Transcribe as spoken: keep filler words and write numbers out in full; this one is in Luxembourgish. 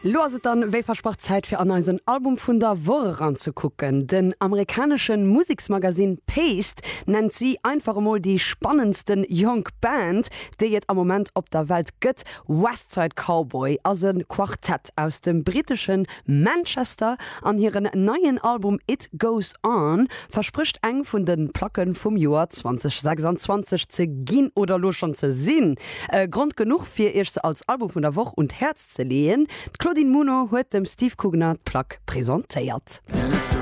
Lo ass et dann wéi versprach Zäit fir an eisen Album vun der Woch eranzekucken. Den amerikaneschen Museksmagazin Paste nennt si einfach emol déi spannendsten jonk Band, déi et am Moment op der Welt gëtt. Westside Cowboy ass e Quartett aus dem britteschen Manchester an hiren neien Album It Goes On versprécht eng vun de Placke vum Joer zweitausendsechsundzwanzeg ze ginn oder lo schonn ze sinn. Äh, Grond genuch fir iech se als Album vun der Woch un d'Häerz ze leeën. D'Claudine Muno huet dem Steve Kugner d'Plack presentéiert.